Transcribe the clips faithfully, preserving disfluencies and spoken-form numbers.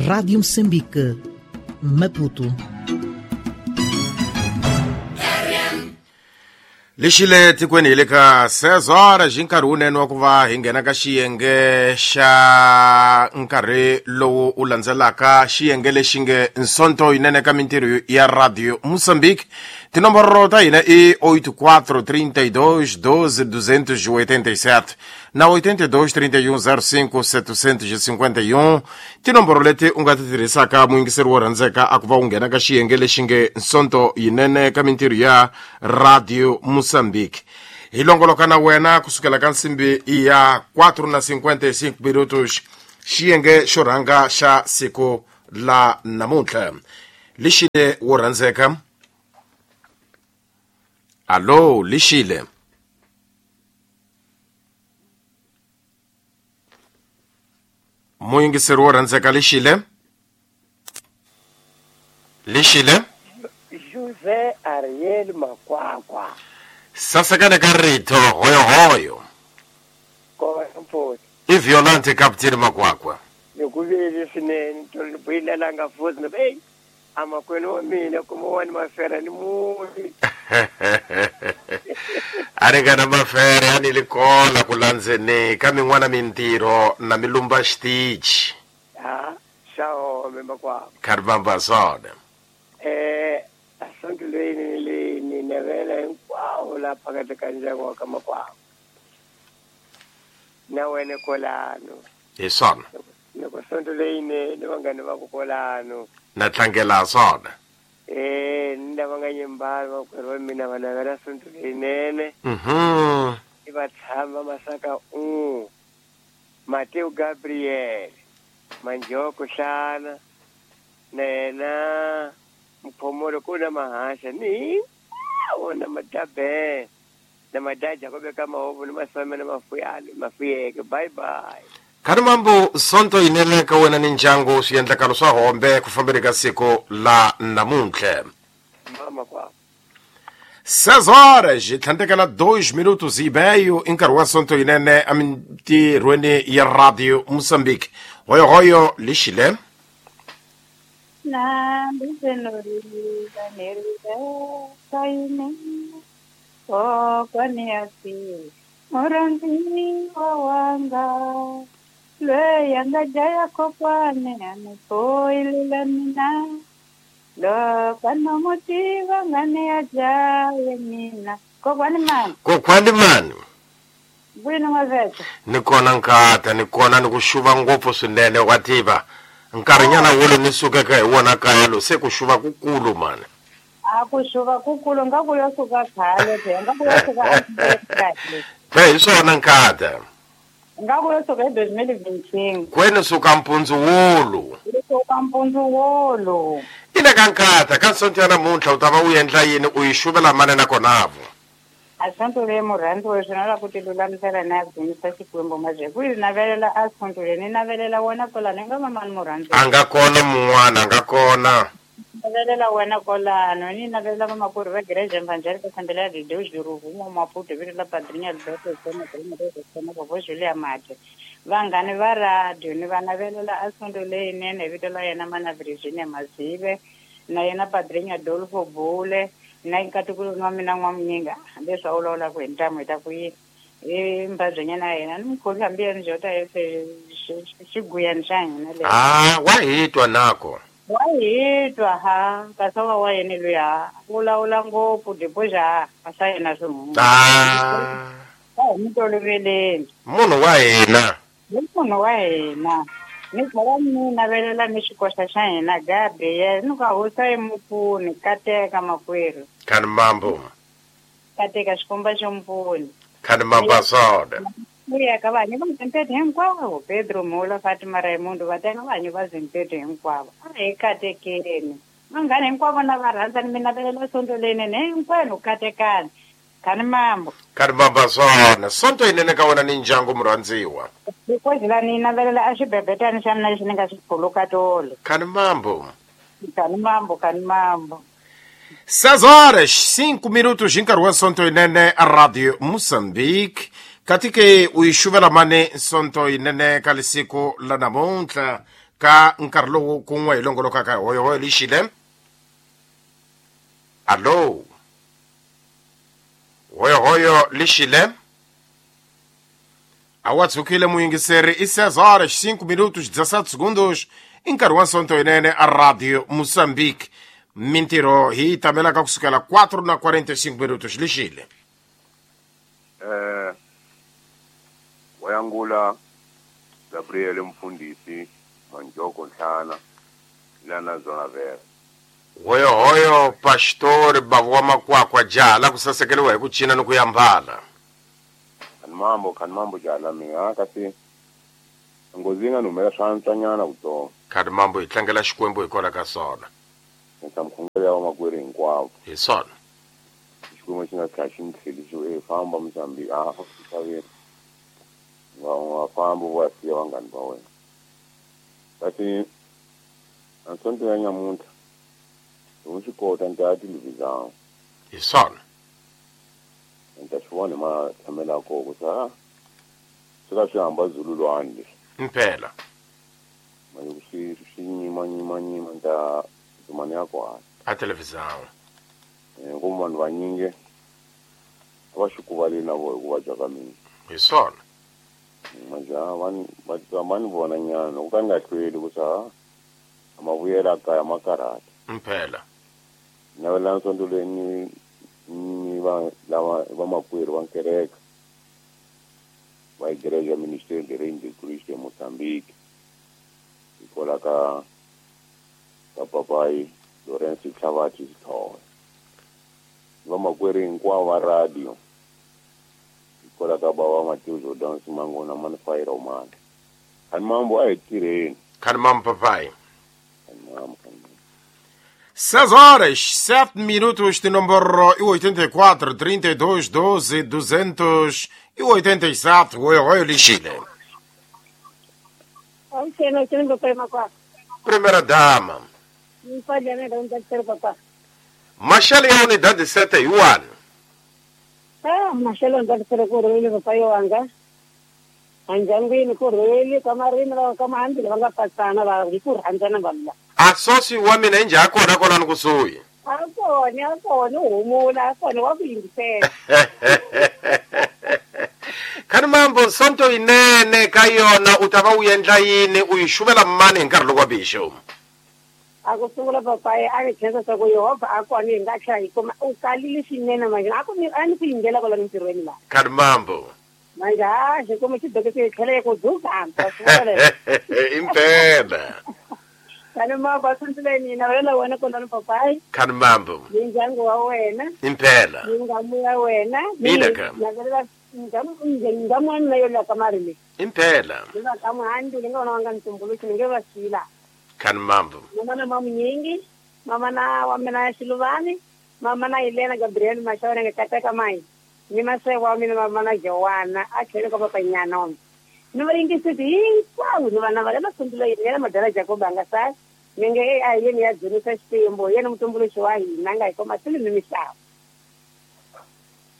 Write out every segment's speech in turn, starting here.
Rádio Moçambique, Maputo. Lexile tikweni hi le ka seis horas hi nkarhi wunene wa ku va hi nghena ka xiyenge xa nkarhi lowu wu landzelaka, xiyenge lexi nge nsonto yinene ka mintirho ya Radio Moçambique. Tinomboro ta hina i oito quatro trinta e dois doze duzentos e oitenta e sete na oitenta e dois trinta e um zero cinco setecentos e cinquenta e um. Tinomboro leti u nga ti tirhisaka muyingiseri wo rhandzeka a ku va u nghena ka xiyenge lexi nge nsonto yinene ka mintirho ya Radio Moçambique. Hi longoloka na wena kusukela ka nsimbi ya quatro na cinquenta e cinco minutos, xiyenge xo rhanga xa siku la namuntlha. Lexile wo rhandzeka. Allo, Lexile. Muyingiseri wo rhandzeka Lexile. Lexile. José Ariel Makwakwa. Sasekane ka rito hoyo hoyo. Kona mfowethu. I Violante Captain Makwakwa. Nikuvile swinene tolibuyilelanga futhi ni hey amakwenu wa mina kuma wani mafera ni muni. A ri nga na mafere a ni li kona ku landzeni ka min'wana mintirho na milumba xitichi. Ha, xaome Makwakwa. Kharibamba swona. Eh asonto leyi ni ni navela hinkwawo la phakathi ka ndyangu wa ka Makwakwa. Na wena kolano. Hi swona. Loko sonto leyinene vanghani va ku kolano. Na tlangela swona. Eh, ni lava nga nyimbali vakwerhu va mina va navela sonto leyinene. Mhm. I va tshama Masaka u Mateo Gabriel Manjoko Hlana na yena Mphomolo ku na mahasha ni na madabe na madaja ku veka mahovu ni masome na mafuyani mafuyeke. Bye bye. Kharimambo sonto yinene ka wena ni ndyangu swiendlakalo swa hombe ku fambeni ka siku la namuntlha. Mama kwa seis horas hi tlhandlekela dois minutos e meio i nkarhi wa sonto yinene emintirhweni ya Radio Moçambique. Hoyo hoyo Lexile. Leyanga jaya kokwane anipoilela mina lokano motiva ngane ya jaye mina kokwani mani kokwani mani bwino maveta ni kona nkata ni kona ni ku xuva ngopfu swinene wa tiva nkarhinyana wolo ni sukeke hi wona kaya lo se ku xuva kukulu mani a ku xuva kukulu nga ku yo suka khale phela nga ku yo suka kahle phela hi swona nkata nga ku yo suka hi dois mil e vinte e cinco kwene suka mpundzu wolo suka mpundzu wolo ina ka nkata ka sonto ya namuntlha u ta va u endla yini u yi xuvela mani nakona vo a sonto leyi murhandzi swona la ku ti lulamisela na ya dzunisa Xikwembu mazhe ku yi navelela a sonto leyi ni navelela wena kolano i nga va mani murhandzi a nga kona mun'wana a nga kona navelela wena kolano ni navelela vamakwerhu va Igreja Evangélica Assembleia de Deus de Ruvuma Maputo vito la Padrinha Alberto Sena Sena Vovó Julia Mate vanghani va radio ni va navelela a sonto leyinene hi vito la yena mana Virginia Mazive na yena Padrinha Adolfo Bule na nkatikulu wa mina n'wamunyinga leswi a vulavulaka hi ntamu hi ta ku yini i mbabyenyana ya yena ni mukhomi hambi yena jota xiguyani xa hina le ah wa hi twa nako wa hi twa ha kasi wa wa yena luya vulavula ngopfu diboxa a swa yena swi huma ah a hi mi toloveleni munhu wa hina hi munhu wa hina ni tlhela ni navelela ni xikoxa xa hina Gabriel ni ka hosa yi mupfuni kateka makwerhu khani mambo kateka xikomba xo mpfuni khani mambo swona ku ya ka vanhu va Zimpete hinkwavo Pedro Mula Fatima Raimundo va teka vanhu va Zimpete hinkwavo a hi katekeni vanghana hinkwavo na va rhandza ni mi navelela sonto leyinene hinkwenu katekani khani mambo khani mambo swona sonto yinene ka wena ni ndyangu murhandziwa because la ni navelela a xibebetani xa mina lexi ni nga xi phuluka tolo khani mambo khani mambo khani mambo seis horas cinco minutos hi nkarhi wa sonto yinene a Radio Moçambique katike u yi xuvela mani sonto yinene ka lisiku la namuntlha. ka nkarhi lowu kun'we hi longolokaka hoyohoyo lixile. Allo, hoyohoyo lixile. Awa tsukile muyingiseri i seis horas cinco minutos dezessete segundos i nkarhi wa Sonto yinene a Radio Moçambique. Mintirho hi tamelaka kusukela quatro na quarenta e cinco minutos lixile. Eh wayangula Gabriel Mfundisi Manjoko Nhlana lana zona vera. Hoyo hoyo pastor bavwa makwakwa jala kusasekeliwa hi ku cina ni ku yambala. Mambo kan mambo jala mina kasi ngozinga numela swantsanyana kuto. Kan mambo hi tlangela Xikwembu hi kona ka swona. Nta mkhongela wa makwerhu hinkwavo. Hi swona. Xikwembu xi nga tlhela xi ni tlhelisa e famba Mozambique a xaveni. Wa wa famba wa siya vanghani va wena. Kasi ansonto ya nyamuntlha loko swi kota ni ta ya televisão. Hi swona. Nta swi vona ma tshamela koko sa swi ka swi hamba zululwani leswi. Impela. Manje swi swi nyima nyima nyima nta dzumani ya kona. A televisão. Eh ku vanhu vanyingi a va xi kuvaleli na voho hikuva dya ka mina. Hi swona. Manje va ni va va ni vona nyana loko ka ni nga hlweli ku sa a ma vuyela kaya ma karhata. Impela. Navela nsonto leyi ni ni va lava vamakwerhu va nkereke va igreja Ministério de Reino de Cristo em Moçambique hikwalaho ka ka papai Lourenço Tlhavati Sithole. Vamakwerhu hinkwavo va radio hikwalaho ka bava Mateus Jordan Simangona Manifai Romana. Khani mambo a hi tirheni. Khani mambo papai. Khani mambo, khani mambo. seis horas, sete minutos de número oitenta e quatro, trinta e dois, doze, duzentos e oitenta e sete. Oi, oi, Lixile. Primeira dama. Machel ya unidade sete yuan. Ah, Machel unidade sete kurwele papai wanga. Anjangwini kurwele kamarina kamahandi vanga pasana va kurhandzana vanhu. Asosi wa mina inje akona kona nikusuhi. Akona akona uhumula akona wa ku yingisela. Khani mambo Sonto yinene ka yona u ta va u endla yini u yi xuvela mani hi nkarhi lowu wa bixo? A ku sungula papai a ni khensa swa ku Yehovha a kona hi nga tlhela hi kuma u kalile swinene manje a ku ni a ni ku yingela kwala mintirhweni laha. Khani mambo. Manje ha xi kuma xidokisi hi tlhela yi ku dzuka. Impela. Khani mambo a santile nina wena wena kona ni papai. Khani mambo. Ni ndyangu wa wena. Impela. Ni ngamu ya wena. Mina ka. Navelela ngamu ngamu wa mina yo la kamari le. Impela. Ni va ka muhandi ni nga vona wanga ntumbuluxi ni nge va sila. Khani mambo. Mama na mamu nyingi, mama na wa mina ya Xiluvani, mama na Helena Gabriel Mashawena nga kateka mai. Ni maseko wa mina mama na Joana a tlhelo ka papanyana wa mina. Ni va yingiseti hinkwavo ni vana va le masungulo yena madala Jacob a nga sali. Ni nge a yeni ya dzunisa Xikwembu yena mutumbuluxi wa hina nga hi komba swilo ni misava.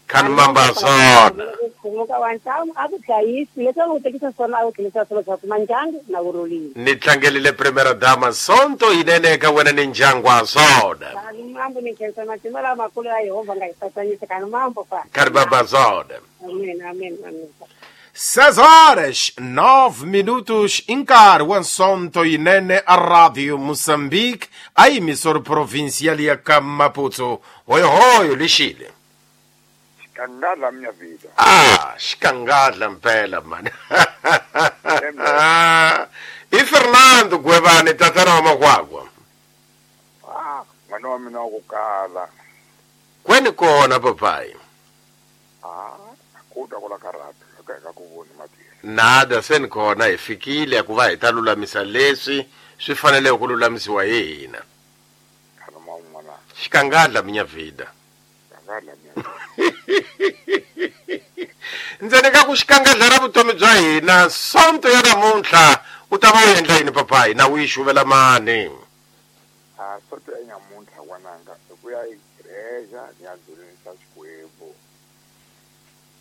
Khani mambo swona. Muka wa ntamu a ku hlayisi leswi a ku tekisa swona a ku tlhelisa swilo swa kuma ndyangu na vurhulile. Ni tlangelile primera dama Sonto yinene ka wena ni ndyangu wa swona. Khani mambo ni khensa matimba lamakulu ya Yehovha nga hi tsakanyisa khani mambo fa. Khani mambo swona. Amen amen amen. seis horas, nove minutos, nkarhi wa Sonto yinene a Radio Moçambique, a emissora provincial ya ka Maputo. Hoyo hoyo lixile. Xikangala minha vida. Ah, xikangala mpela mani. I Fernando Gwebane tatana wa makwakwa. Ah, n'wana wa mina wa ku kala. Kweni kona papai? Ah, ku ta kula karata ka ka ku voni matini. Nada se ni kona hi fikile ku va hi ta lulamisa leswi swi fanele ku lulamisiwa hi hina. Khani man'wana. Xikangala minha vida. Xikangala minha vida. Ndzeni ka ku xikangala ra vutomi bya hina Sonto ya namuntlha u ta va u endla yini papai na u yi xuvela mani? Ah, Sonto ya namuntlha n'wananga i ku ya igreja ni ya dzunisa Xikwembu.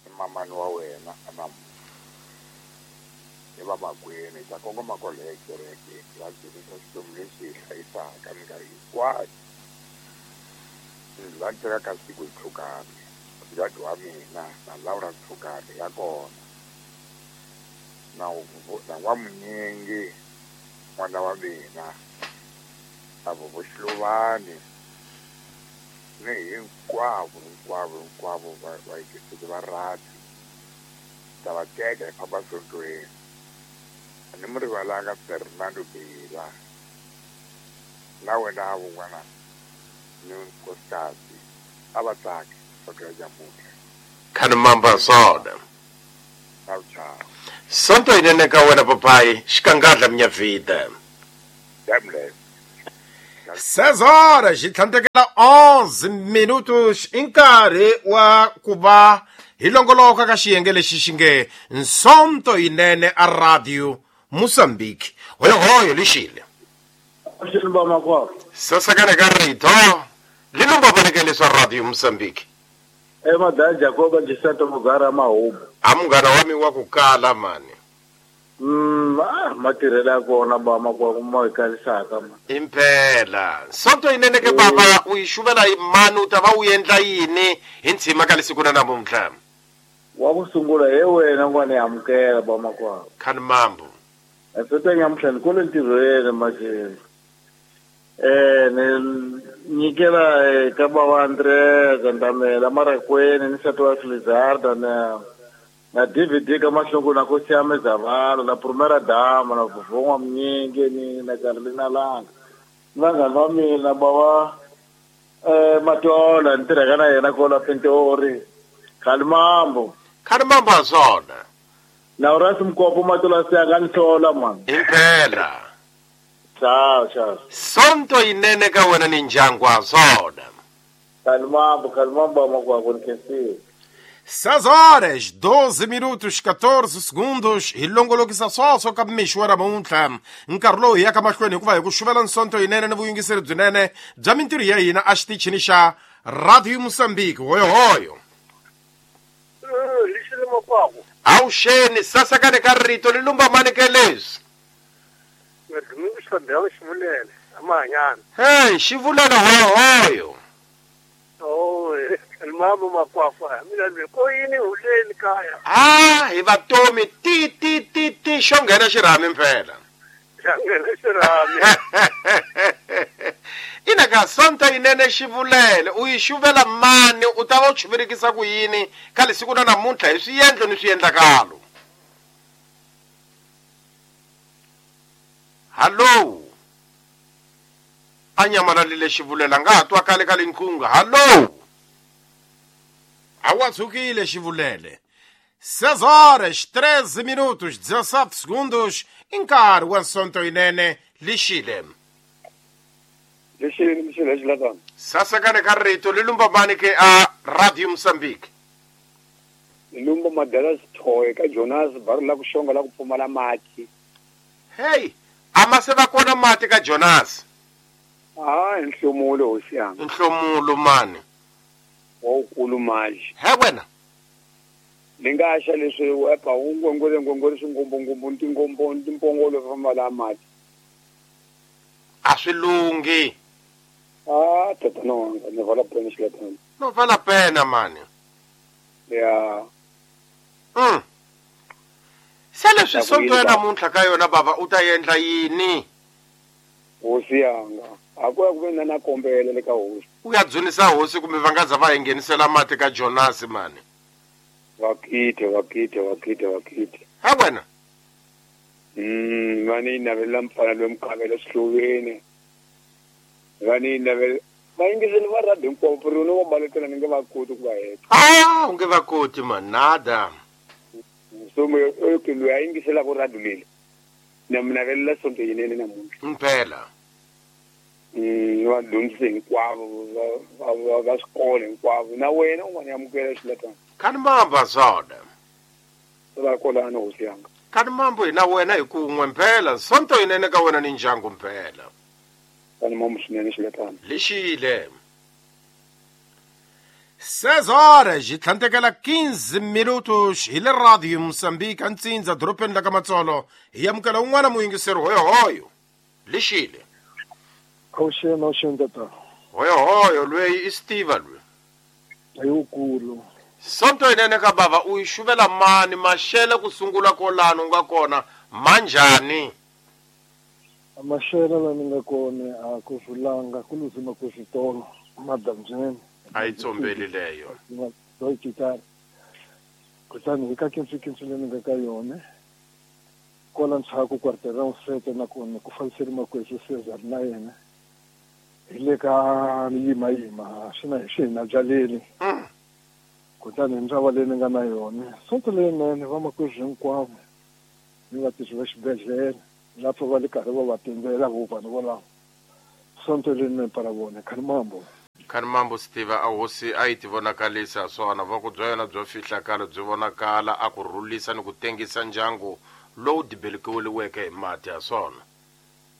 I mamani wa wena namuntlha. Ni vamakwenu hi ta kongoma kwale ekerekeni va dzunisa Xikwembu lexi hi hlayisaka minkarhi hinkwayo. Va teka ka siku hi tlhukane mucato wa mina na Laura Tlhukane ya kona na na N'wamunyingi n'wana wa mina na Vovoxiluvani ni hinkwavo hinkwavo hinkwavo vayingiseri va radio ta va teka hi famba sontweni. A ni mi rivalanga Fernando Bila na wena vun'wana ni nkosikazi a va tsaki sonto ya nyamuntlha. Khani mamba swona. Ciao ciao. Sonto yinene ka wena papai xikangadla minyavhida. Damle. Seis horas e tlhandlekela onze minutos i nkarhi wa ku va hi longoloka ka xiyenge lexi xi nge Nsonto yinene a Radio Mozambique. Hoyohoyo lixile. Sasakana ka rito lilumba voneke swa Radio Mozambique. E madala Jacoba Gisanto Mugara Mahubu. A munghana wa mi wa ku kala mani. Mm, ah, matirhelo ya kona ba makwako ma hi karisaka ma. Impela. Sonto yinene ke baba u yi xuvela hi mani u ta va u endla yini hi ntshima ka lesiku na namuntlha? Wa ku sungula he wena n'wana ya amukela ba makwako. Khani mambo. Sonto ya nyamuntlha ni kule ntirhweni manje. Eh ni nyikela ka baba Andrea Gandamela Marakweni ni nsati wa Felizarda na na D V D ka Mahlongo na Nkosi ya Mizavalo na Primera Dama na Vuvon'wa Mnyingi ni na Carolina Langa. Vanghana va mina bava eh Matola ni tirhaka na yena kwala Pintori. Khalimambo. Khalimambo swona. Na Urasi Mkopo Matola siya ni hlola man. Impela. Ciao ciao. Sonto yinene ka wena ni ndyangu wa swona. Khalimambo, Khalimambo makwako ni khensile. Seis horas, doze minutos, quatorze segundos. Hi longolokisa swoswo ka mixo wa namuntlha. Nkarhi lowu hi yaka mahlweni hikuva hi ku xuvela nsonto yinene ni vuyingiseri byinene bya mintirho ya hina a xitichini xa Radio Mozambique. Hoyohoyo. Awuxeni sasakane ka rito li lumba mani ke leswi? Hey, xivulele hoyohoyo. Mama makwakwa mina le ko yini huleni kaya. Ah, hi vatomi ti ti ti ti xo nghena xirhami mpela. Xa nghena xirhami. Ina ka sonto yinene xivulele u yi xuvela mani u ta va u chuvirikisa ku yini ka lesiku na namuntlha hi swiendlo ni swiendlakalo. Hallo. A nyamalale xivulela nga ha twakale ka linkunga. Hallo. A wa xivulele. Seis horas, treze minutos, dezassete segundos. I nkarhi wa nsonto yinene lixile. Lixile lixile xilatana. Sasakane ka rito li lumba mani ke a Radio Mozambique. Lumba madala sithoye ka Jonas bari la ku xonga la ku pfumala mati. Hey, a ma se va kona mati ka Jonas. Ah, nhlomulo hosi yanga. Nhlomulo mani. Wawukulu manje. He wena. Ni nga xa leswi epa ungongole ngongole swingombongombo ntingombo ntimpongolo famba la mati. A swi lunghi. Ah, tatana wanga ni vala pena xilatana. No vala pena mani. Ya. Mm. Se leswi sonto ya namuntlha ka yona baba u ta endla yini? Hosi yanga. A ku ya ku ve na na kombela le ka hosi. U ya dzunisa hosi kumbe va nga za va hi nghenisela mati ka Jonas mani. Vakite, vakite, vakite, vakite. Ha wena. Mm, va ni navela mfana loyi mukavela swihluveni. Va ni navela vayingiseli va radio hinkwavo ri ni va balekela ni nge va koti ku va heta. Ah, u nge va koti man, nada. So mo okay loyi a yingiselaka radio leyi. Na mi navelela sonto yinene namuntlha. Mpela. Mm, va dyondzise hinkwavo va va va swikolo hinkwavo na wena un'wana ya amukela xilatana. Khani mamba swona. Va kolana hosi yanga. Khani mambo hina wena hi kun'we mpela sonto yinene ka wena ni ndyangu mpela. Khani mambo swinene xilatana. Lixile. Seis horas e tlhantekela quinze minutos hi le Radio Moçambique antsindza dorobeni la ka Matsolo hi amukela un'wana muyingiseri hoyohoyo lixile awuxeni awuxeni tata hoyohoyo lweyi i Steve lwe ayikulu sonto yinene ka bava u yi xuvela mani maxele ku sungula kolano u nga kona manjhani maxele la ni nga kona a ku vulanga ku luzima ku switolo madambyeni a yi tsombeli leyo kutani hi ka kinsu-kinsu leyi ni nga ka yona kwala ndzhaku quartera sete nakona ku fambiseri makwesu Cesar na yena hi le ka yimayima swi na swi hi na byaleni kutani hi ndzava leyi ni nga na yona sonto leyinene vamakwerhu hinkwavo ni vatirhi va xibedhlele lapho va le karhi va va tindzela vo vanhu volavo sonto leyinene para vona khalimambo Khalimambo Steve a hosi a yi ti vonakalisa swona voko bya yona byo fihlakala byi vonakala a ku rhulisa ni ku tengisa ndyangu lowu dibelikiweke hi mati ya swona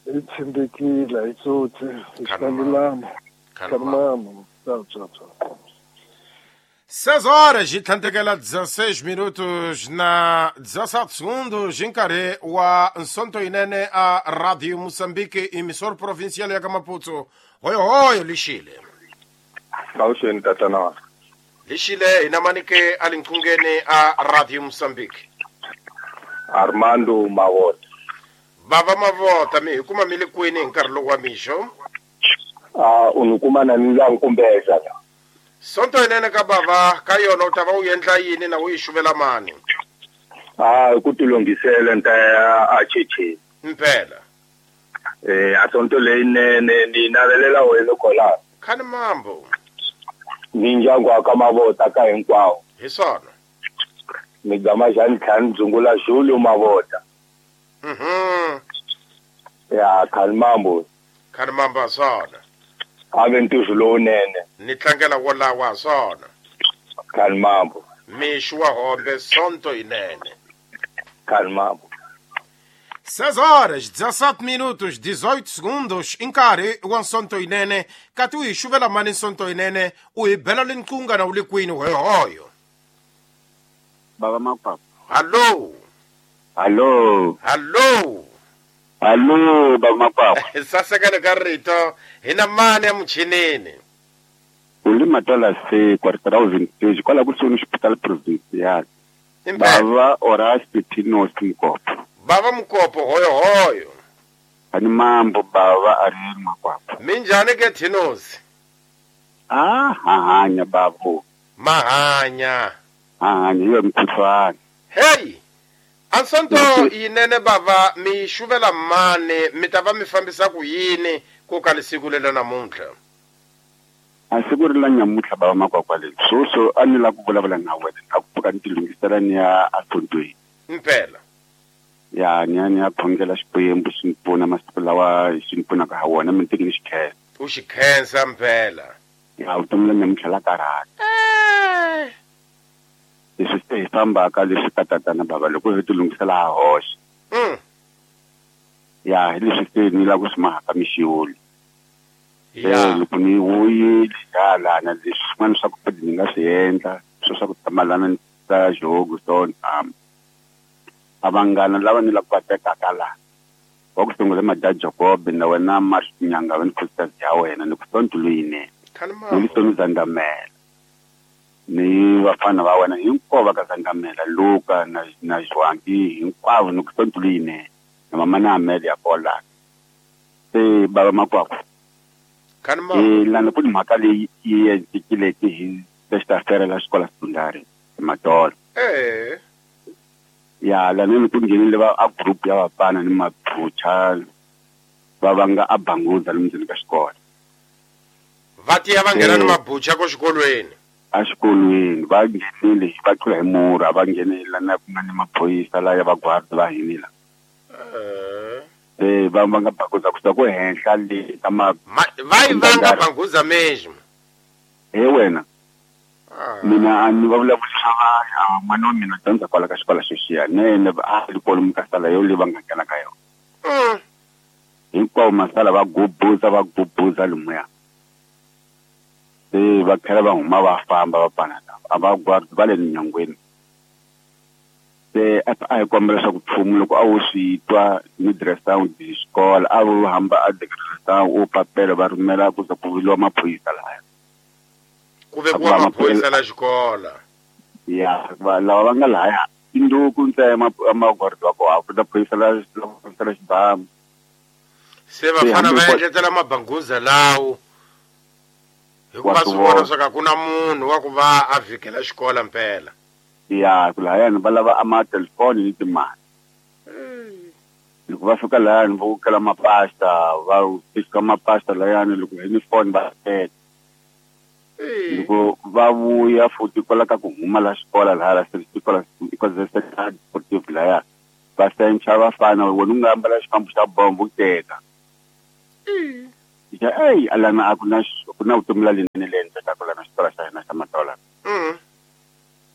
i tshembekile hi tsotsi hi xilulama Khalimambo Seis horas e tlhantekela dezesseis minutos na dezessete segundos hi nkarhi wa nsonto yinene a Radio Moçambique emissor provincial ya ka Maputo hoyohoyo lixile awuxeni tatana lixile hina manike a linqungeni a Radio Moçambique Armando Mavota bava Mavota mi hi kuma mi le kwini hi nkarhi lowu wa mixo a u ni kuma na ni la nkumbeza sonto yinene ka bava ka yona u ta va u endla yini na u yi xuvela mani a ku tilunghisela ni ta ya a cheche mpela eh a sonto leyinene ni navelela wena kwala khani mambo ni ndyangu wa ka Mavota ka hinkwawo hi swona ni gama xa ntlhanu dzungula Julio Mavota mhm ya khani mambo khani mambo swona a ve ntirho lowunene ni tlangela wolawa swona khani mambo mixo wa hombe sonto yinene khani mambo Seis horas, dezessete minutos, dezoito segundos, nkarhi wa nsonto yinene kati u hi xuvela mani nsonto yinene u hi bela linqunga na u le kwini hoyohoyo baba Makwakwa hallo hallo hallo hallo baba Makwakwa sasekele ka rito hina mani ya muchinini u le Matola se quarter thousand page kwala kusuhi ni xipitali provincial bava Horace Tinos Mkopo bava Mkopo hoyohoyo ani mambo bava Ariel Makwakwa minjhani ke Tinos ah hanya babo mahanya hanya yo mkhuhlwane hey ansonto yinene bava mi xuvela mani mi ta va mi fambisa ku yini ku ka lisiku lela namuntlha a siku ri la nyamuntlha bava Makwakwa leyi swoswo a ni lava ku vulavula na wena a ku pfuka ni tilunghisela ni ya asontweni mpela ya ni ya ni ya khongela Xikwembu xi ni pfuna masiku lawa xi ni pfunaka ha wona mi teki ni xikhensa u xi khensa mpela ya vutomi la nyamuntlha la karhata leswi se hi fambaka leswi ka tatana bava loko hi tilunghisela ha hoxa ya hi leswi se ni lava ku swi mahaka mixiwuli ya loko ni wuyile ya lana leswi swin'wana swa ku ni nga swi endla swo swa ku tamalana ni ta jogo so a vanghana lava ni lava ku va tekaka laha wa ku sungula Madya Jacob na wena Masinyanga wa ni khosikazi ya wena ni ku sonto leyinene ni Vutomi Zandamela ni vafana va wena hinkwavo va ka Zandamela Luka na na Joanki hinkwavo ni ku sonto leyinene na mama na Amele ya kola se bava Makwakwa Khalimambo lana ku ni mhaka leyi yi endlekileke hi xitafera la xikola sekondari Matola eh ya lana ni ku nghenile va a group ya vafana ni maphucha va vanga a banguza lomu ndzeni ka xikolo va tiya va nghena ni mabucha ko xikolweni a xikolweni va nghenile va tlula hi murha va nghenela na ku nga ni maphorisa laya va guard va hinila eh va vanga banguza kusuka ku henhla le ka ma va yi vanga banguza mesmo he wena mina a ni va vulavurisa va n'wana wa mina dyondza kwala ka xikolo xexiya nene a ri kwalomu ka sala yo leyi va nga nghena ka yona hinkwavo masala va gubuza va gubuza lomuya Se va tlhela va huma va famba va pana lava a va guard va le nyangweni. Se a hi kombela leswaku mfumo loko a wu swi twa ni direção de escola a wu hamba a direção u papelo va rhumela ku za ku viliwa maphorisa laya. Ku vekiwa maphorisa la xikola. Ya lava va nga laya induku ntsena maguard wa kona ku ta phorisa la la xibamu. Se vafana va endletela mabanguza lawo hikuva swi vona swa ku na munhu wa ku va a vhikela xikola mpela. Ya ku lahayani va lava a ma-telefoni ni timali. Loko va fika lahayani va kala mapasta va fika mapasta lahayani loko hi ni phone va teka. Loko va vuya futhi kwala ka ku huma la xikola laha la xikola ikola sportive lahaya va sencha vafana wena u nga ambala xifambo xa bombo u teka. Ya ey alana a ku na ku na vutomi la lenene le endlekaka lana xikola xa hina xa Matola.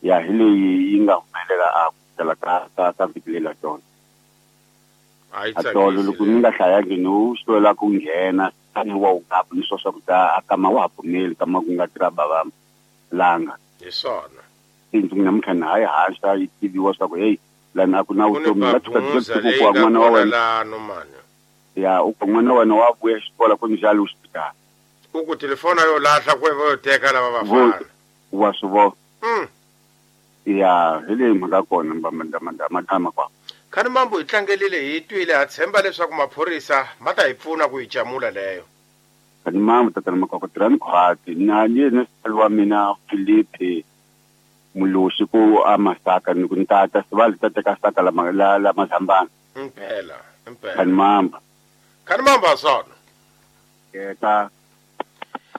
Ya hi leyi yi nga humelela a ku tala ka ka ka vhiki leri tolo. A tolo loko ni nga hlayangi ni wu hlwela ku nghena tani wa wu gapu ni swo swa ku ta a kama wa ha pfumeli kama ku nga tirha bava langa. Hi swona. Tindlu namuntlha na hayi haxa yi tiviwa swa ku hey lana a ku na vutomi la tshuka ku wa n'wana wa wena. Ya u ku n'wana wa wena wa vuya xikola ku njhani u xipitala. U ku telefona yo lahla ku va yo teka lava vafana. Wa swi vona. Mm. Ya hi leyi mhaka kona madama kwa. Khani mambo hi tlangelile hi twile ha tshemba leswaku maphorisa ma ta hi pfuna ku hi jamula leyo. Khani mambo tatana Makwakwa tirhani khwati na yena nsati wa mina Filipe Mulosi ku a Masaka ni ku ni tata sivali ta teka saka la la la Mazambana. Impela impela. Khani mambo. Khani mambo sona. Eta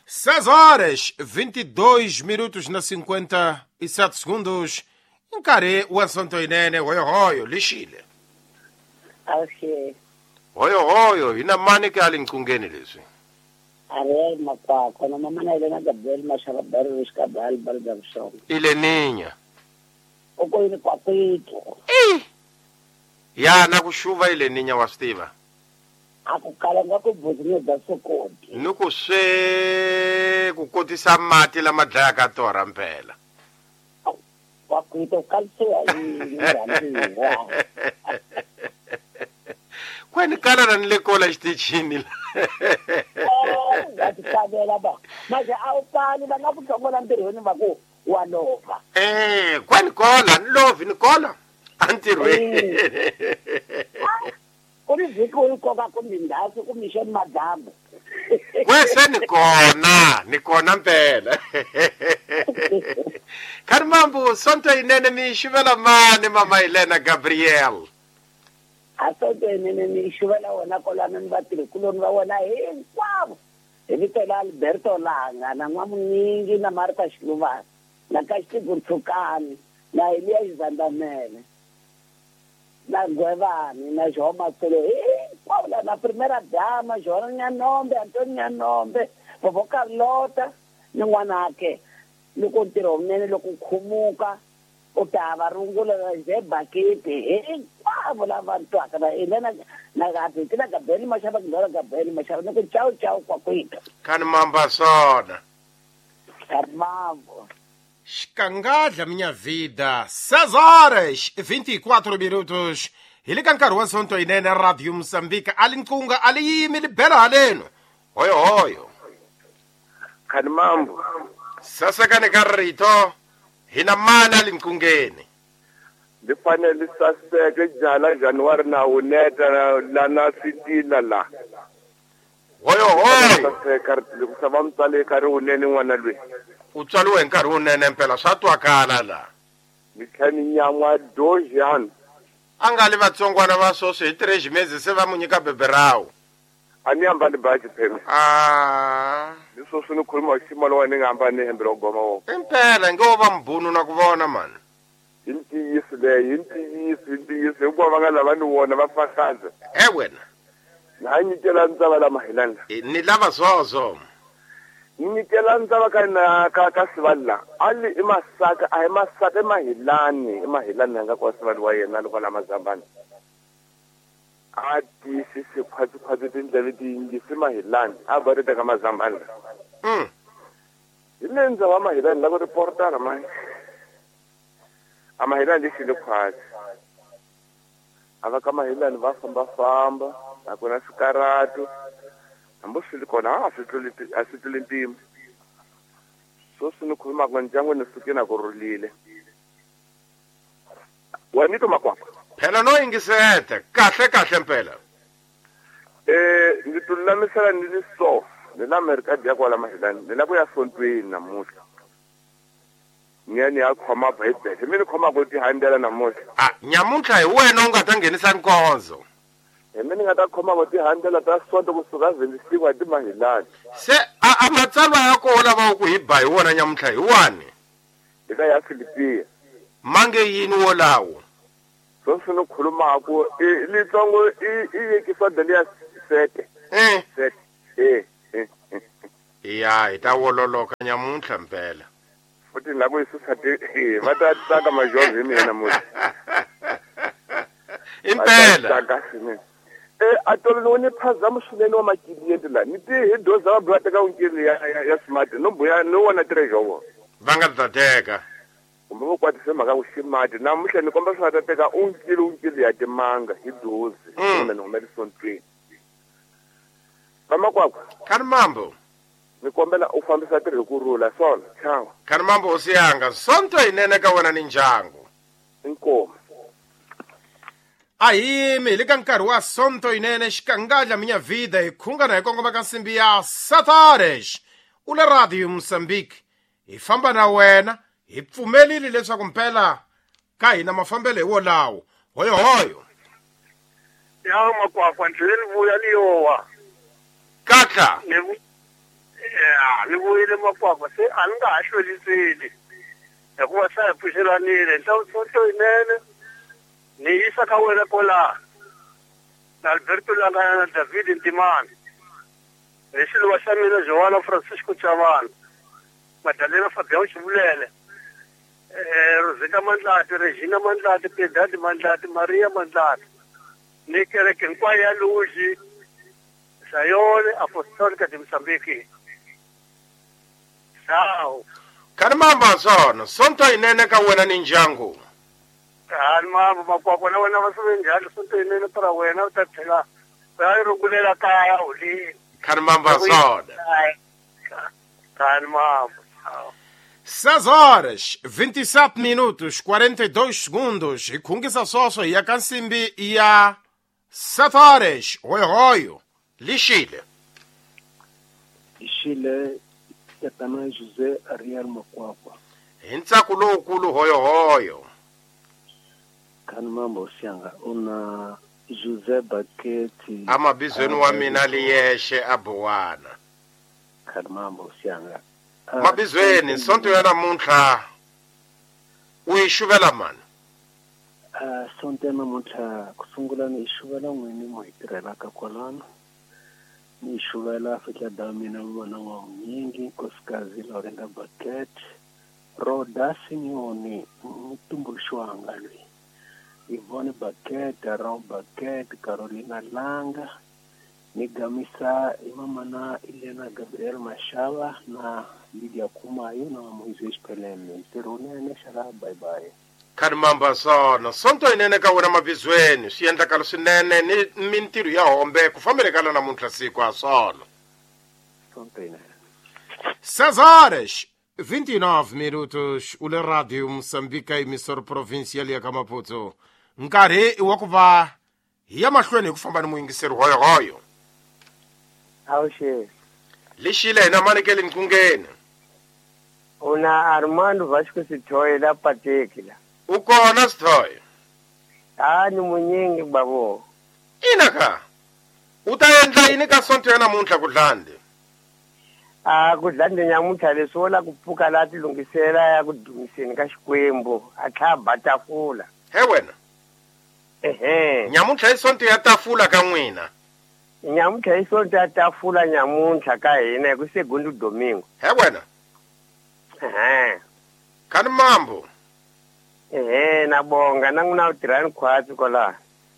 seis horas, vinte e dois minutos na cinquenta e sete segundos. Nkarhi wa Sonto Yinene, hoyo hoyo, lixile. Awuxe. Hoyo hoyo, hina mani ke alinqungeni leswi. Ariel Makwakwa, na mama na Elena Gabriel Mashaba Barro Skabal Bargabson. Ileninya. Okoyini kwakwethu. Eh. Ya na ku xuva ileninya wa swi tiva. Akukala nga ku buzinyo bya sokoti. Ni ku swe ku kotisa mati lama dlayaka torha mpela. Kwakwethu kalisiwa yini rhandziwa. Kwani kala na ni le kola xitichini la. Va ti xavela va. Manje a wu kali va nga ku hlongola ntirhweni va ku wa lova. Eh, kwani kola ni lovi ni kola antirhweni. Ku ri vhiki u yi koka kumbe ndhawu kumbe xeni madyambu. Kwese ni kona, ni kona mpela. Khani mambo Sonto Yinene mi xivela mani mama Elena Gabriel. A Sonto Yinene mi xivela wona kolana ni vatirhikuloni va wona hinkwavo. Hi vito la Alberto Langa na N'wamuningi na Martha Xiluvana na Kaxitiku Ntshukani na Eliya Xizandamele na Gwevani na João Matsolo hinkwavo la na Primera Dama João Nyanombe Antonio Nyanombe Vovó Carlota ni n'wanake loko ntirho wunene loko khumuka u ta va rungula ze bakete hinkwavo lava twaka na Elena na Gabi na Gabriel Mashaba na Gabriel Mashaba ni ku chau chau kwakwethu. Khani mamba sona. Khani mambo. Xikangandla minha vida, seis horas e vinte e quatro minutos. Hi le ka nkarhi wa Sonto Yinene Radio Moçambique a li nqunga a li yimi li bela haleno. Hoyo hoyo. Khani mambo. Sasekani ka rito hina mani a li nqungeni. Li fanele li saseke jala January na wuneta la na switila la. Hoyo hoyo. Saseka loko va mutswale ka ri wunene n'wana loyi. U tswariwe hi nkarhi wunene mpela swa twakala la. Ni tlhela ni nyan'wa dojani. A nga li vatsongwana va sweswi hi três meses se va mu nyika beberawu. A ni ambali baji phela. Ah. Ni sweswi ni khuluma hi xiyimo lowa ni nga ambali hembe ro goma wo. Impela nge wo va mbunu na ku vona mani. Hi ntiyiso leyi, hi ntiyiso, hi ntiyiso hikuva va nga lava ni wona va fakaza. E wena. Na nyikela ntsava la mahilana. Ni lava swozo. Nyikela ntsava ka na ka ka sivali la. Ali i Masaka, a hi Masaka i Mahilani, i Mahilani nga kwa sivali wa yena loko la Mazambani. A tiyisisi khwatsi khwatsi tindleve ti yingisi Mahilani, a va ri teka Mazambani. Mm. Hi le ndzhaku wa Mahilani la ku reportara manje. A Mahilani lexi le khwatsi. A va ka Mahilani va fambafamba, a ku na swikaratu. Hambi swi ri kona a swi tluli a swi tluli mpimo. Sweswi ni khulumaka ndyangu ni suke na ku rhulile. Wa ni twa Makwakwa? Phela no yingisete kahle kahle mpela. Eh ndzi ti lulamisela ni ri so ni la Amerika bya kwala Mahilani ni la ku ya sontweni namuntlha. Ni ya ni ya khoma Bibele mi ni khoma ku tihandela namuntlha. A nyamuntlha hi wena u nga ta nghenisa nkonzo. Hi mina ni nga ta khoma ku tihandela ta sonto kusuka vhindisiwa ti Mahilani. Se a a matsalwa ya kona va ku hi ba hi wona nyamuntlha hi wani? Eka ya Filipiya. Mange yini wolawo? Sweswi ni khulumaku i litsongo i i yekisa dali ya sete. Eh. Sete. Eh. Eh. Ya hi ta wololoka nyamuntlha mpela. Futhi la ku yi susa ti va ta tsaka majority hi mina namuntlha. Impela. Tsaka swinene. Eh a tolo ni phazama swinene wa makiliyenti la ni ti hi doza va buya teka unkili ya ya smart no buya no wona treasure wo. Va nga ta teka. Kumbe vo kwatise mhaka ku ximati namuntlha ni komba swi nga ta teka unkili unkili ya timanga hi dozi kumbe ni humele sontweni. Vamakwakwa. Khani mambo. Ni kombela u fambisa tirhi ku rhula swona chao. Khani mambo hosi yanga sonto yinene ka wena ni ndyangu. Inkomu. A hi yimi hi le ka nkarhi wa sonto yinene xikangadla minya vida hi khungana hi kongoma ka nsimbi ya Satares u le Radio Mozambique hi famba na wena hi pfumelile leswaku mpela ka hina mafambelo hi wolawo hoyo hoyo. Ya Makwakwa ndleleni vuya liyowa. Katla. Ni ya ni vuyile Makwakwa se a ni nga ha hlweliseli hikuva se hi pfuxelanile sonto yinene ni yisa ka wena kwala na Alberto Langana na David Ntimani ni xiluva xa mina Joana Francisco Chavana Madalena Fabião Xivulele eh Rosita Mandlati Regina Mandlati Piedade Mandlati Maria Mandlati ni kereke hinkwayo ya Luji Sayone Apostolica de Mozambique. Ciao. Khani mamba swona sonto yinene ka wena ni ndyangu. Khani mambo Makwakwa na wena va swi njhani sonto yinene para wena u ta tlhela u ya yi rungulela kaya holini. Khani mamba swona. Khani mambo. Ciao. seis horas, vinte e sete minutos, quarenta e dois segundos. Hi khungisa swoswo hi ya ka nsimbi ya sete horas. Hoyohoyo. Lixile. Lixile tatana José Ariel Makwakwa. Hi ntsako lowukulu hoyohoyo. Khani mambo sianga una José Baketi. Amabizweni wa mina liyexe a Bowana. Khani mambo sianga. Mabizweni sonto ya namuntlha u yi xuvela mani? Sonto ya namuntlha ku sungula ni yi xuvela n'wini mo hi tirhelaka kwalano. Ni yi xuvela Afrika da mina vona wa Munyingi nkosikazi Lorenda Baket Roda Simeone mutumbuluxi wanga loyi Yvonne Baket Ron Baket Carolina Langa ni gamisa imamana Elena Gabriel Mashava na Lydia Kumayo na Moisés Pelele. Ntirho wunene xala bye bye. Khani mamba swona sonto yinene ka wena mabizweni swi endlakalo swinene ni mintirho ya hombe ku fambelekana namuntlha siku a swona. Sonto yinene. seis horas vinte e nove minutos u le Radio Mozambique emissora provincial ya ka Maputo. Nkarhi i wa ku va hi ya mahlweni hi ku famba ni muyingiseri hoyohoyo. Awuxe. Lixile hina manekele nqungeni. Una Armando Vasco Sithoye la Pateki la. U kona Sithoye? Ah ni munyingi babo. Ina ka. U ta endla yini ka sonto ya namuntlha ku dlande? Ah ku dlande nyamuntlha leswi wo la ku pfuka la tilunghisela ya ku dumiseni ka Xikwembu a tlha ba tafula. He wena. Ehe. Nyamuntlha i sonto ya tafula ka n'wina. Nyamuntlha i sonto ya tafula nyamuntlha ka hina hi ku segundo domingo. He wena. Ehe. Khani mambo. Ehe na bonga na n'wina u tirhani khwatsi kwala.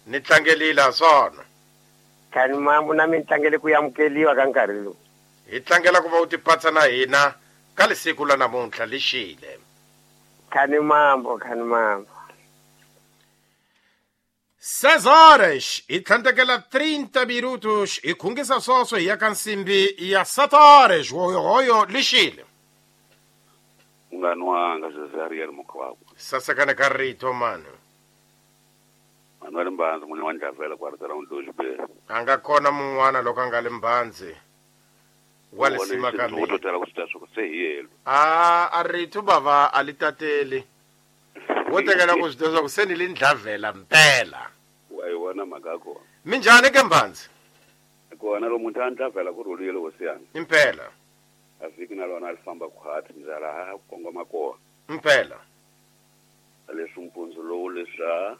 Ni tlangelile swona. Khani mambo na mi tlangele ku amukeliwa ka nkarhi lowu. Hi tlangela ku va u tipatsa na hina Ka lisiku la namuntlha lixile. Khani mambo, khani mambo. Seis horas e tlhandlekela trinta minutos hi khungisa swoswo hi ya ka nsimbi ya sete horas. Hoyohoyo lixile. Munghana wanga José Ariel Mokwakwa. Sasekana ka rito mani. Manuel Mbanzi munhu wa Ndlavela kwartela Ndolibele. A nga kona mun'wana loko a nga le Mbanzi. Wa lisima ka mina. U totela ku swi swa se hi yelo. A a rito bava a li tateli. Wo tekela ku swi tiva ku se ni le Ndlavela mpela. Wa yi vona mhaka ya kona. Minjhani ke Mbanzi? Kona lo muntu a Ndlavela ku rhulile hosi yanga. Impela. A vhiki na lona a li famba khwati ndlela ha kongoma kona. Impela. Leswi mpundzu lowu leswi a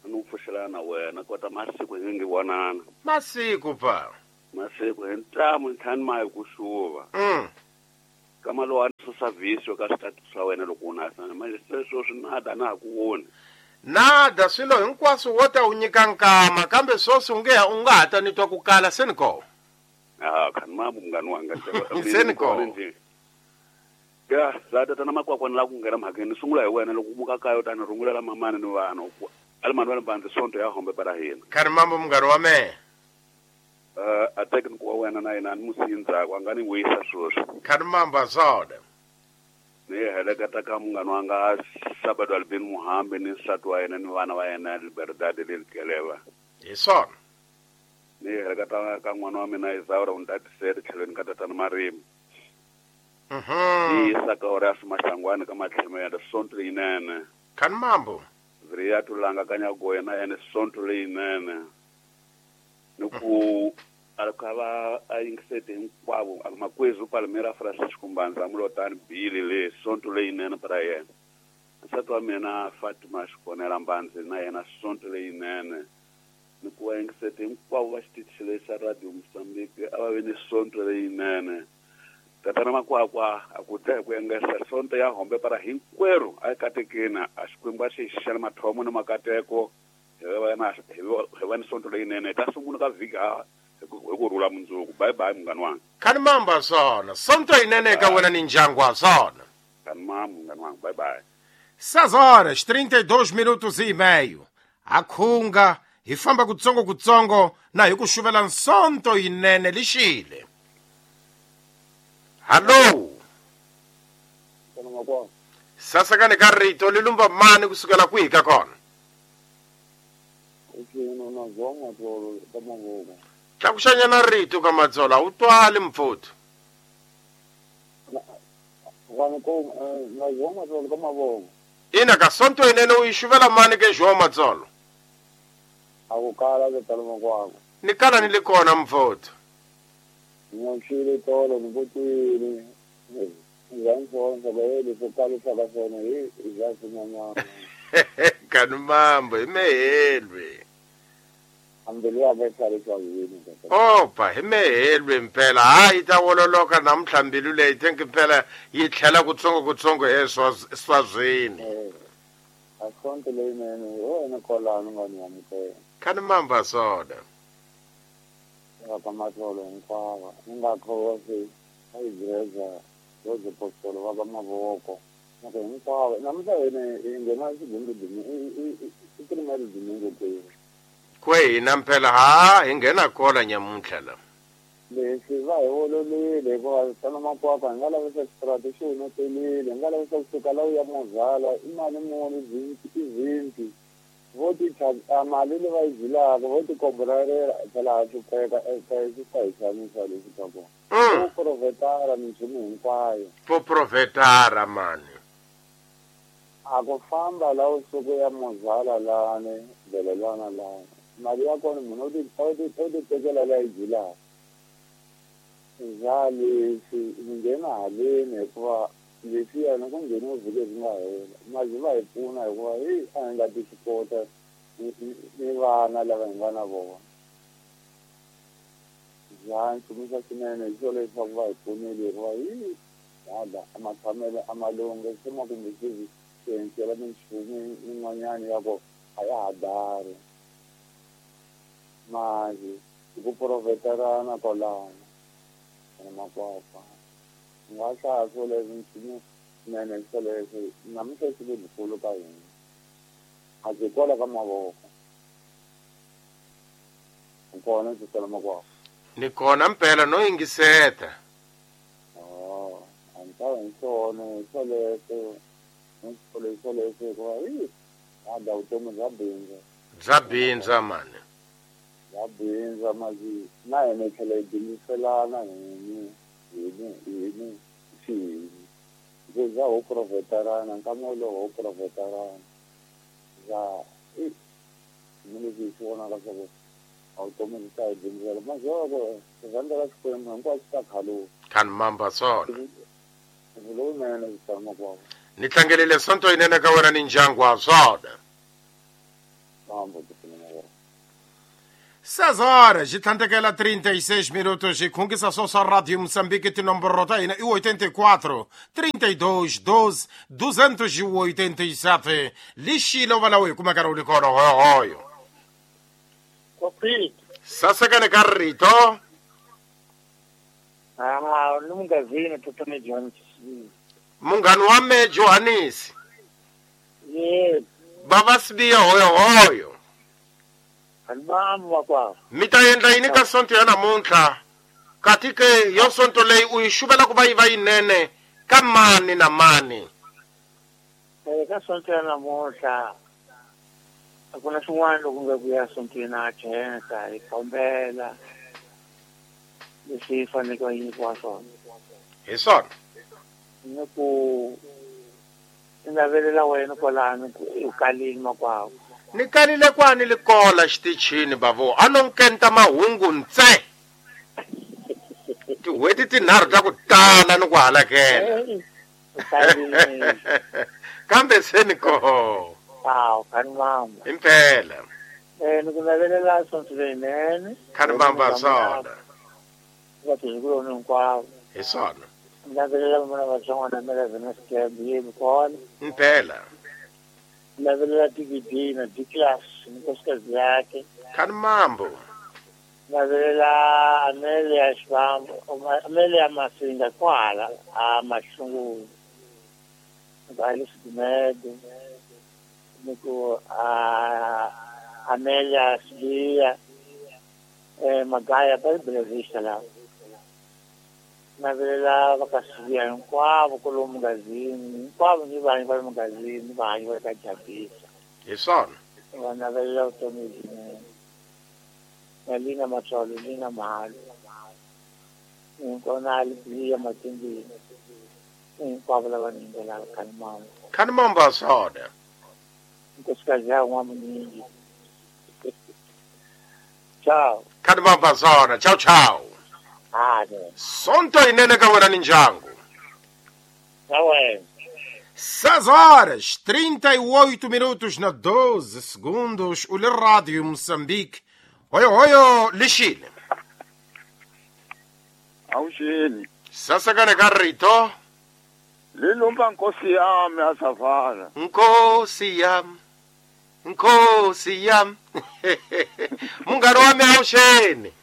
ni pfuxelana na wena kota masiku hi ngi vonana. Masiku pa. Masiku hi ntamu ntlhanu mayi ku xuva. Mm. Kama lowu a ni susa vhiso ka switatu swa wena loko u na manje sweswo swi nada na ha ku voni. Nada swilo hinkwaswo wo ta u nyika nkama kambe swoswi u nge u nga ha ta ni twa ku kala se ni kona. Ah, khani mambo munghana wanga. Se ni kona. Ya, la tatana Makwakwa ni lava ku nghena mhakeni ni sungula hi wena loko u muka kaya u ta ni rungulela mamani ni vana u ali Manuel Mbanzi sonto ya hombe para hina. Khani mambo munghana wa mehe. Uh, a tekniku wa wena na yena ni musi ndzhaku a nga ni wisa sweswi. Khani mambo swona. Ni heleketa ka munghana wanga Sabado Albin Muhambi ni nsati wa yena ni vana va yena Liberdade le Likeleva. Hi swona. Ni heleketa ka n'wana wa mina Isaura u ni tatisele tlhelweni ka tatana Marimi. Mhm. Ni yisa ka Horace Mahlangwane ka Matlhemela sonto leyinene. Khani mambo. Vria tulanga ka Nyagoya na yena sonto leyinene. Ni ku a ka va a yingisete hinkwavo a makwezu Palmeiras Francisco Mbanza Mulotani Bili le sonto leyinene para yena. Nsati wa mina Fatima Xikonela Mbanzi na yena sonto leyinene. Ni ku va yingisete hinkwavo va xitichi lexi xa Radio Mozambique a va ve ni sonto leyinene. Tatana Makwakwa a ku dya hi ku engesa sonto ya hombe para hinkwerhu a yi katekeni a Xikwembu a xi hi xixela mathomo ni makateko hi va na hi va ni sonto leyinene hi ta sungula ka vhiki ha hi ku rhula mundzuku. Bye bye munghana wanga. Khani mamba swona sonto yinene ka wena ni ndyangu wa swona. Khani mamba munghana wanga, bye bye. Seis horas trinta e dois minutos e meio. A khunga hi famba kutsongo kutsongo na hi ku xuvela nsonto yinene lixile. Hallo. Sasakane ka rito li lumba mani kusukela kwihi ka kona? Tlakuxanyana rito ka Matsolo a wu twali mpfuthu. Ina ka sonto yinene u yi xuvela mani ke João Matsolo? Ni kala ni le kona mpfuthu. Nyoxile tolo ni vutile Kani mambo hi mehelwe. Opa hi mehelwe mpela hayi ta wololoka namuntlha mbilu leyi think mpela yi tlhela kutsongo kutsongo eswazweni. Kani mamba swona. Ka Matsolo hinkwavo ni nga khosi a igreja yo apostolo va ka mavoko na ku hinkwavo namuntlha hina hi nghena xigundo i primary domingo kwihi kwe hina mpela ha hi nghena kona nyamuntlha la leswi va hi wololile hikuva tana Makwakwa hi nga lavisa xitrati xi humetelile hi nga lavisa kusuka la u ya Mozala i mali muni i vinti vo ti a mali leyi va yi byelaka vo ti koborarela phela ha hlupheka swi ta hi xanisa leswi ka kona. Vo profetara minchumu hinkwayo. Vo profetara mani. A ku famba la usuku ya Mozala lani belelwana lani mali ya kona munhu u ti u ti tekela la yi byelaka. Za leswi ni nghena haleni hikuva leswiya loko ngheni vhiki byi nga hela mali va hi pfuna hikuva hi a hi nga ti swi kota ni vana lava hi nga na vona. Za nchumu swinene hi swo leswaku va hi pfunile hikuva hi hada a matshamelo a malunge se ma kumbe swi swi minchumu yin'wanyana ya ku a ya ha dari mali hi ku profeterana kwalano na Makwakwa. Nga hlaya swoleswo nchumu swinene swoleswo namuntlha swi lebyikulu ka hina. A byi kwala ka mavoko. Kona ndzi tsala makwavo. Ni kona mpela no yingiseta. Oh, a ni ta hi swona swoleswo swoleswo swoleswo hikuva hi a da vutomi bya bindzu. Bya bindza mani. Bya bindza masi na hina hi tlhela hi bindziselana hini hini hini xihini. Ndzi za ho profetarana nkama wolowo ho profetarana. Za i ni leswi hi swi vonaka swa ku a vutomi byi ta hi bindzela mazoko rhandza ra Xikwembu hinkwaswo swi ta khaluka. Khani mamba swona. Lowunene ndzi tsala makwavo. Ni tlangelile sonto yinene ka wena ni ndyangu wa swona. Mambo ndzi makwavo. seis horas e tlhandlekela trinta e seis minutos e khungisa só só Rádio Moçambique tinomboro ta hina i oitenta e quatro, trinta e dois, doze, duzentos e oitenta e sete. Lixile va lawo hi kuma nkarhi wu li kona hoyohoyo. Sasekane ka rito. Ah, ni mungazini Totone Jones. Munghani wa me Johannes. Yes. Bava Sibiya hoyohoyo. Albamu makwavo. Mi ta endla yini ka sonto ya namuntlha? Kati ke yo sonto leyi u yi xuvela ku va yi va yinene ka mani na mani? Eh, ka sonto ya namuntlha a ku na swin'wana loko nga ku ya sontweni a khensa hi kombela leswi hi faneleke va nyikiwa swona. Hi swona. Ni ku ni navelela wena kwalano ku u kalile makwavo. Ni kalile kwani likola xitichini bavo a no nkenta mahungu ntse. Tin'hweti tinharhu ta ku tala ni ku halakela. Kambe se ni koho. Awu, khani mamba. Impela. Eh, ni ku navelela sonto leyinene. Khani mamba swona. Vatirhikuloni hinkwavo. Hi swona. Ni navelela vana vatsongwana na Vena Scab yini kona. Impela. Ni navelela D V D na D class ni nkosikazi yakhe. Khani mambo. Ni navelela Amelia Xivambu, Amelia Masinga kwala a Mahlungulu. Alice Gumede. Ni ku a Amelia Sibiya eh Magaya ba Bela la. Navelela va ka Sibiya hinkwavo kwalomu mungazini, hinkwavo ni vanhu va le mungazini va hanyi va ka Jabisa. Hi swona. Va navelela vutomi lebyinene. Na Lina Matsolo, Lina Mahalo. Hinkwavo Alibiya Matimbini. Hinkwavo lava ni yimbelela khani mamba. Khani mamba swona. Nkosikazi ya n'wamunyingi. Ciao. Khani mamba swona. Ciao ciao. Ah, ne. Sonto yinene ka wena ni ndyangu. Na wena. seis horas, trinta e oito minutos na doze segundos. O le Rádio Moçambique. Hoyo hoyo lixile. Awuxini. Sasekane ka rito. Lilumba nkosi yami asavala. Nkosi yami. Nkosi yami. Munghani wa mi awuxeni.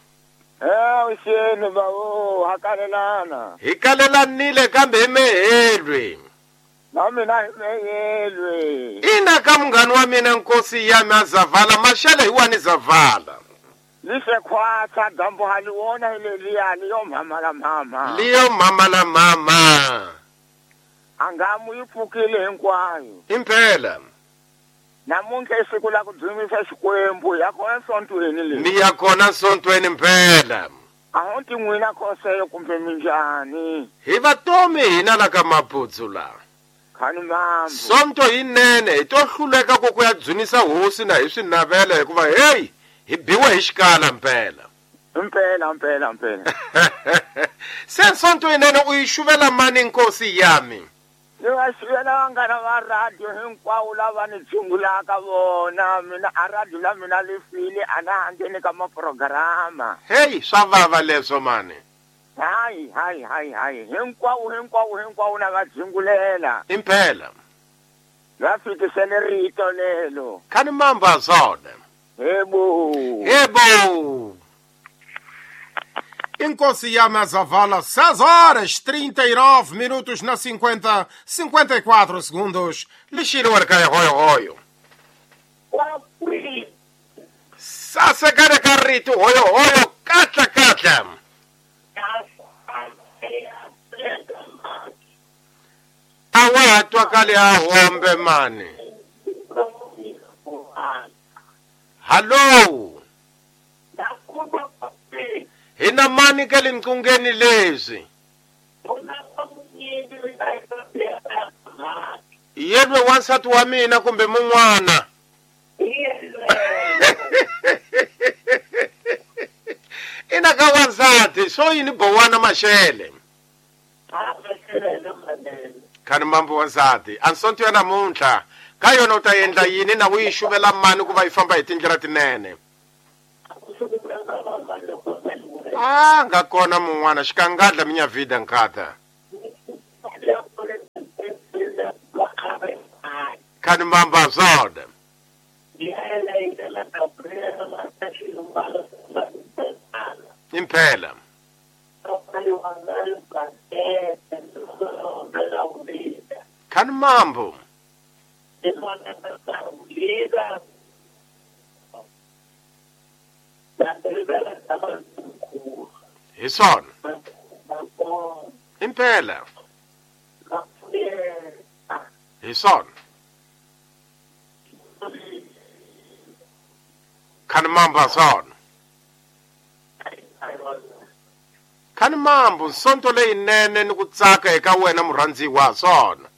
Eh, awuxeni bawo, hakalelana. Hi kalelanile kambe hi mehelwe. Na mina hi mehelwe. Ina ka munghani wa mina nkosi yami azavala, maxele hi wani zavala. Lise khwatsa dambu haliwona hi leliya liyo mama la mama. Liyo mama la mama. Angamu yi pfukile hinkwayo. Impela. Namuntlha i siku la ku dzumisa Xikwembu ya kona sontweni leyi. Mi ya kona sontweni mpela. A ho ti n'wina khoseyo kumbe minjhani. Hi vatomi hina la ka Maputsu la. Khani mambo. Sonto yinene hi to hluleka ku ku ya dzunisa hosi na hi swi navela hikuva hey hi biwe hi xikala mpela. Mpela mpela mpela. Se sonto yinene u yi xuvela mani nkosi yami? Ni va xuvela vanghana va radio hinkwavo lava ni tshungulaka vona. Mina a radio la mina li file a na ha ngheni ka maprograma. Hey, swa vava leswo mani. Hayi hayi hayi hayi hinkwavo hinkwavo hinkwavo na va dzungulela. Impela. Va fikisele rito lelo. Khani mamba swona. Hebo. Hebo. Inkosi ya Mazavala, seis horas trinta e nove minutos na cinquenta, cinquenta e quatro segundos. Lixiro arcaia roio roio. Sasakara carrito roio roio, katla katla. Awa twakale a hombe mani. Hello. Hina mani ka limkungeni lezi. Yelwe wansati wa mina kumbe mun'wana. Ina ka wansati so yini bowana mashele. Khani mambo wansati ansonto ya namuntlha ka yona u ta endla yini na u yi xuvela mani ku va yi famba hi tindlela tinene. Ah, nga kona mun'wana xikangadla minya vida nkata. Khani mamba zoda. Impela. Khani mambo. Hi swona. Impela. Hi swona. Khani mambo swona. Khani mambo sonto leyinene ni ku tsaka eka wena murhandziwa swona.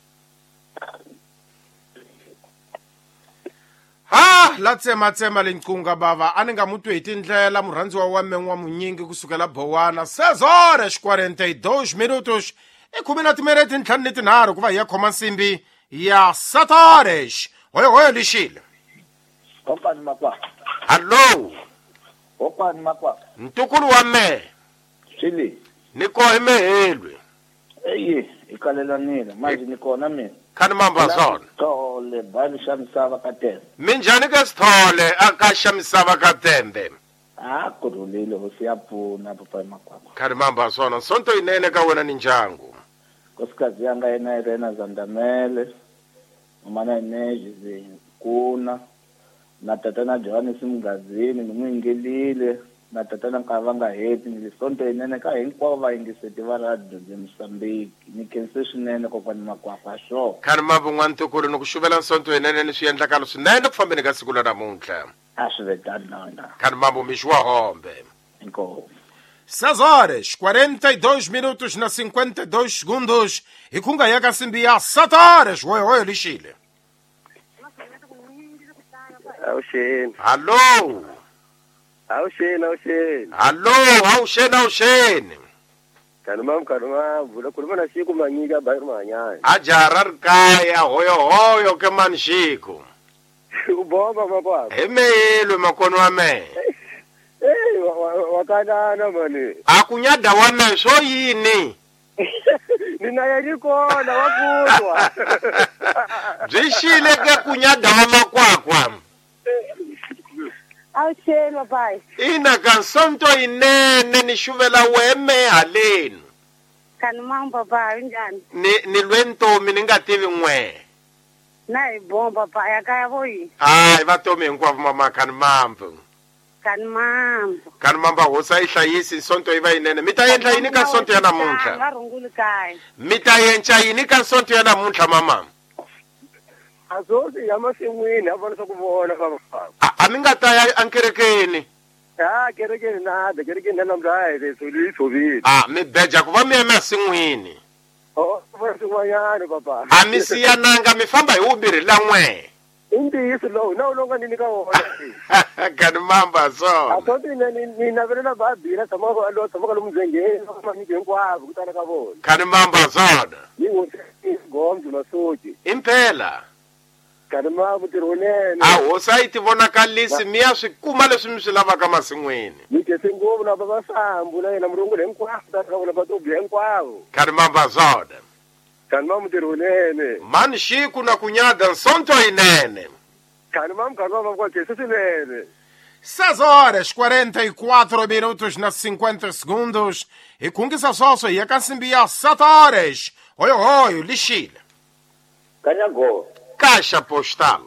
Ha la tsema tsema lenqunga bava a ni nga mutwi hi tindlela murhandziwa wa me wa munyingi kusukela bowana seis horas quarenta e dois minutos i khume na timinete ntlhanu ni tinharhu ku va hi ya khoma nsimbi ya sete horas hoyo hoyo lixile. Kopani makwa. Hallo. Kopani makwa. Ntukulu wa me. Xili. Ni kohe mehelwe. Eyi, ikalelanile manje ni kona mina. Khani mamba swona. Sithole bani xa misava ka tembe. Minjhani ka Sithole a ka xa misava ka tembe? Ah, ku rhulile hosi ya pfuna papa makwakwa. Khani mamba swona sonto yinene ka wena ni ndyangu. Nkosikazi yanga yena Irena Zandamele, mama na Ineji Kuna, na tatana Johannes Mungazini ni n'wi yingelile, na tatana Nkavanga Heti ni sonto yinene ka hinkwavo vayingiseti va radio bya Mozambique. Ni khense swinene kokwani makwakwa swo. Khani mambo n'wantukulu ni ku xuvela nsonto yinene ni swiendlakalo swinene ku fambeni ka siku la namuntlha. A swi ve tano na wena. Khani mambo mixi wa hombe. Inkomu. seis horas quarenta e dois minutos na cinquenta e dois segundos hi khunga ya ka nsimbi ya sete horas hoyo hoyo lixile. Awuxeni. Hallo. Awuxeni, awuxeni. Hallo, awuxeni, awuxeni. Khani mambo, khani mambo. La khuluma na Xiku Manyika Bayiri Mahanyani. A jaha ri kaya hoyo hoyo ke mani Xiku. U bomba makwakwa. Hi meyelwe makono wa mehe. Ey, wa kanana mani. A ku nyada wa mehe swo yini? Ni na yeni kona wa kutwa. Byi xile ke ku nyada wa makwakwa. Awuxeni papai. Ina ka nsonto yinene ni xuvela weme haleni. Khani mambo papai unjhani? Ni ni lwe ntomi ni nga tivi n'we. Na hi bomba papai ya kaya vo yini? Hayi va tomi hinkwavo mama khani mambo. Khani mambo. Khani mambo hosi a yi hlayisi nsonto yi va yinene. Mi ta endla yini ka nsonto ya namuntlha? Va runguli kaya. Mi ta endla yini ka nsonto ya namuntlha mama? Azozi ya masin'wini a vona swa ku vona famba. A a mi nga ta ya ankerekeni. Ah, kerekeni na, kerekeni na namuntlha hi leswi yi tshovile. Ah, mi beja ku va mi ya masin'wini. Oh, vona swin'wanyana papa. A mi siyananga mi famba hi vumbirhi la n'we. I ntiyiso lowu na wu lowu nga ni nyika wona. Khani mamba swona. A sonto ni ni navelela babila tshamaka lo tshamaka lomu ndzengeni manyiki hinkwavo ku tala ka vona. Khani mamba swona. Ni hosi Gombe Masoji. Impela. Khani mambo ntirho wunene. A hosi a yi ti vonakalisi mi ya swi kuma leswi mi swi lavaka masin'wini. Ni khense ngopfu na baba Sambu na yena murunguli hinkwavo ta ka vona vatobi hinkwavo. Khani mamba swona. Khani mambo ntirho wunene. Mani Xiku na ku nyada nsonto yinene. Khani mambo, khani mambo kwa khense swinene. Seis horas quarenta e quatro minutos na cinquenta segundos. Hi khungisa swoswo hi ya ka nsimbi ya sete horas. Hoyo hoyo lixile. Kanyago. Caixa postal.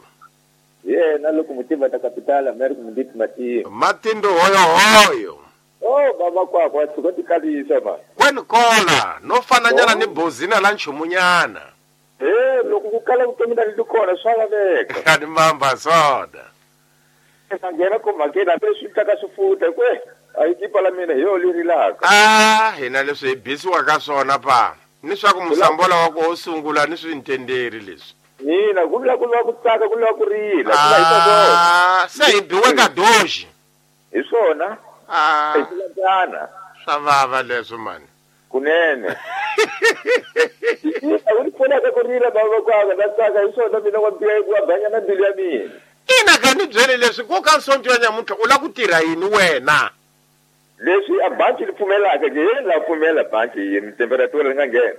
Yena loko mutiva ta capital America munditi matindo. Matindo hoyo hoyo. Oh baba kwakwa tshuka tikalisa ma. Kwenu kola no fananyana ni bozina la nchumunyana. Eh loko ku kala vutomi na li kona swa laveka. Kani mamba soda. Ngena ko makena leswi taka swifuta kwe a yi tipa la mina hi yo leri laka. Ah hina leswi hi bisiwa ka swona pa. Ni swa ku musambola wa ku sungula ni swi ntenderi leswi. Mina ku vula ku lava ku tsaka ku lava ku rila. Ah se hi biwe ka doji. Hi swona. Ah hi tilangana. Swa vava leswi mani. Kunene. A wu pfunaka ku rila baba kwaka na tsaka hi swona mina wa biya ku banya na mbilu ya mina. Ina ka ni byele leswi ku ka nsonto ya nyamuntlha u la ku tirha yini wena? Leswi a banki li pfumelaka ke yena la pfumela banki yini temperature li nga nghena.